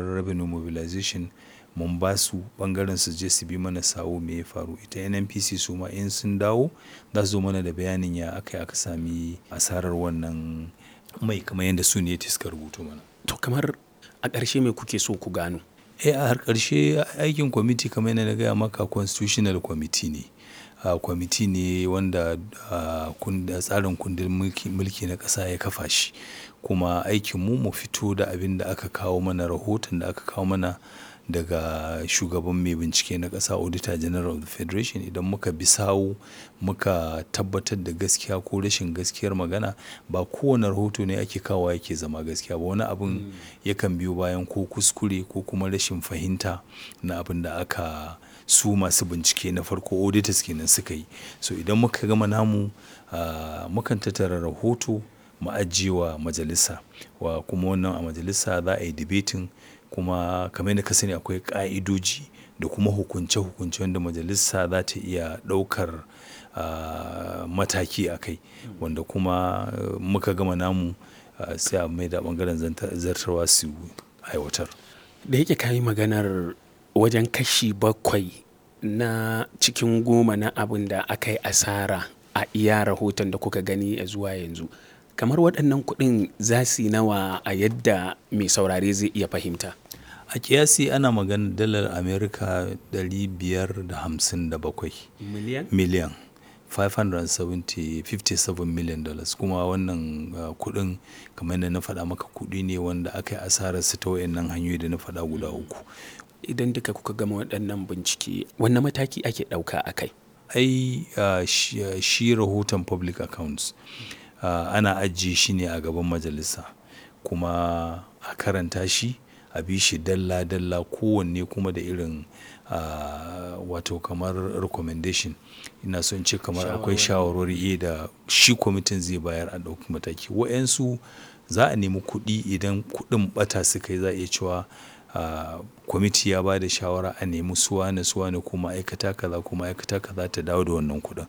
Revenue Mobilization mun ba su ɓangaren su je su bi mana sawu me ya faru. Ita NNPC su ma in sun dawo za su zo mana da bayanin ya aka yi aka sami asarar wannan mai kamar yadda su ne suka rubuto mana. To kamar a ƙarshe me kuke so ku gano? Eh, a har ƙarshe aikin kwamiti kamar yadda na gaya maka constitutional committee ne. Kwamiti ne wanda tsarin kundin mulki na ƙasa ya kafa shi. Kuma aikin mu mu fito da abin da aka kawo mana, rahoton da aka kawo mana daga shugaban mai bincike na ƙasa, Auditor General of the Federation. Idan muka bi sawu muka tabbatar da gaskiya ko rashin gaskiyar magana, ba kowane rahoto ne ake kawo yake zama gaskiya ba. Wani abun yakan biyo bayan ko kuskure ko kuma rashin fahimta na abin da aka su masu bincike na farko auditors kenan suka yi. So idan muka gama namu, mukan tattara rahoto mu ajiye wa majalisa. Wa kuma wannan a majalisa za a yi debating, kuma kamar yadda ka sani akwai ƙa'idoji da kuma hukunce-hukunce wanda majalisa za ta iya ɗaukar, mataki a kai. Wanda kuma muka gama namu, sai a maida ɓangaren zartarwa su aiwatar. Da yake ka yi maganar wajen kashi 7 na cikin 10 na abin da aka yi asara a iya rahoton da kuka gani ya zuwa yanzu. Kamar waɗannan kuɗin za su yi nawa a yadda mai saurare zai iya fahimta? A ƙiyasi ana maganar dalar Amurka 557 Miliyan? Miliyan. $557 million. Kuma wannan kuɗin kamar yadda na faɗa maka kuɗi ne wanda aka yi asararsu ta waɗannan hanyoyi da na faɗa guda uku. Idan duka kuka gama waɗannan bincike, wane mataki ake ɗauka a kai? Ai, shi rahoton public accounts, ana ajiye shi ne a gaban majalisa kuma a karanta shi, a bi shi dalla dalla, kowanne kuma da irin, wato kamar recommendation. Ina so in ce kamar akwai shawarwari da shi kwamitin zai bayar a ɗauki mataki. Waƴansu za a nemi kuɗi idan kuɗin ɓata suka yi, za a iya cewa, kwamiti ya ba da shawara a nemi su wane su wane ko ma'aikata kaza ko ma'aikata kaza ta dawo da wannan kuɗin.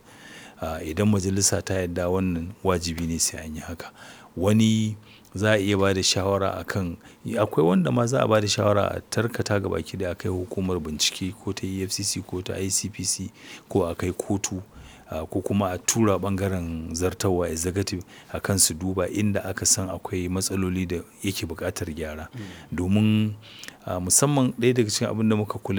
Idan majalisa ta yarda, wannan wajibi ne sai an yi haka. Wani za a iya ba da shawara a kan akwai wanda ma za a ba da shawara a tarkata gaba ki ɗaya a kai hukumar bincike ko ta EFCC ko ta ICPC ko a kai kotu, ko kuma a tura ɓangaren zartarwa executive a kan su duba inda aka san akwai matsaloli da yake buƙatar gyara. Domin, musamman ɗaya daga cikin abin da muka kula.